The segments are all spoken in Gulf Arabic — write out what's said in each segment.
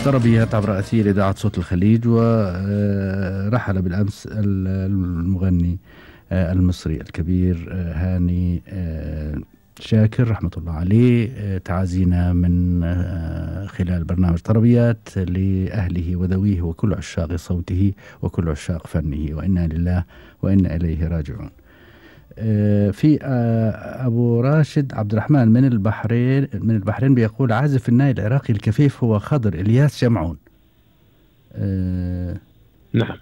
طربيات عبر أثير إذاعة صوت الخليج. ورحل بالأمس المغني المصري الكبير هاني شاكر رحمة الله عليه. تعازينا من خلال برنامج طربيات لأهله وذويه وكل عشاق صوته وكل عشاق فنه، وإنا لله وإنا إليه راجعون. في أبو راشد عبد الرحمن من البحرين بيقول: عازف الناي العراقي الكفيف هو خضر إلياس شمعون. نعم.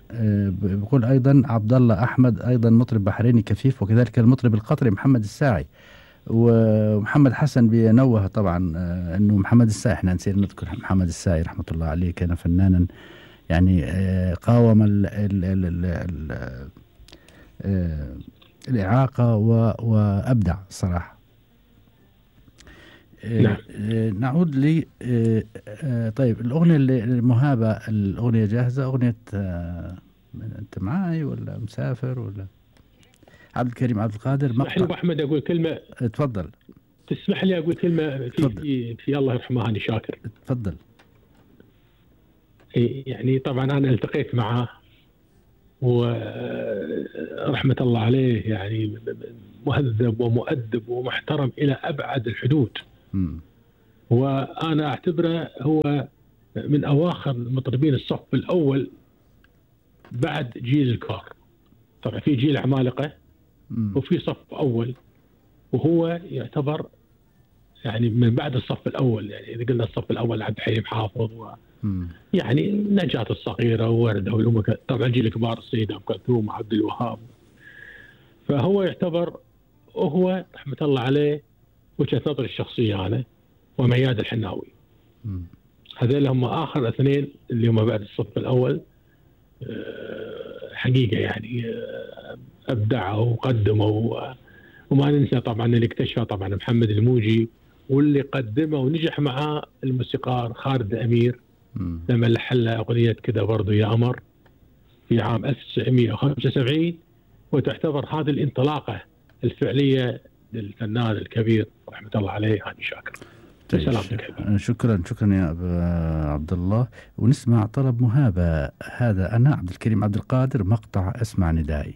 بيقول أيضا عبد الله أحمد أيضا مطرب بحريني كفيف، وكذلك المطرب القطري محمد الساعي. ومحمد حسن بينوه طبعا أنه محمد الساعي، احنا نسير نذكر محمد الساعي رحمة الله عليه، كان فنانا يعني قاوم الإعاقة وأبدع صراحة. نعم. نعود لي طيب الأغنية المهابة، الأغنية جاهزة؟ أغنية أنت معاي ولا مسافر ولا؟ عبد الكريم عبد القادر. اسمح لي أبو أحمد أقول كلمة. تفضل. تسمح لي أقول كلمة في الله يرحمه هاني شاكر. تفضل. يعني طبعا أنا التقيت معه ورحمة الله عليه، يعني مهذب ومؤدب ومحترم إلى أبعد الحدود. وأنا أعتبره هو من أواخر مطربين الصف الأول بعد جيل الكبار. طبعا في جيل عمالقة وفي صف أول، وهو يعتبر يعني من بعد الصف الأول. يعني إذا قلنا الصف الأول عبد الحليم حافظ يعني نجاة الصغيرة ووردة، طبعا جيل الكبار السيدة أم كلثوم وعبد الوهاب. فهو يعتبر وهو رحمة الله عليه وجهة نظري الشخصية أنا ومياد الحناوي، هذول هم آخر اثنين اللي هم بعد الصف الأول حقيقة يعني أبدعوا وقدموا. وما ننسى طبعا اللي اكتشفه طبعا محمد الموجي، واللي قدمه ونجح معاه الموسيقار خالد أمير لما لحن له أغنية كذا برضو يا قمر في عام 1975. وتعتبر هذه الانطلاقة الفعلية للفنان الكبير رحمة الله عليه هاني شاكر. شكرا يا عبد الله. ونسمع طلب مهابة، هذا أنا عبد الكريم عبد القادر، مقطع اسمع ندائي.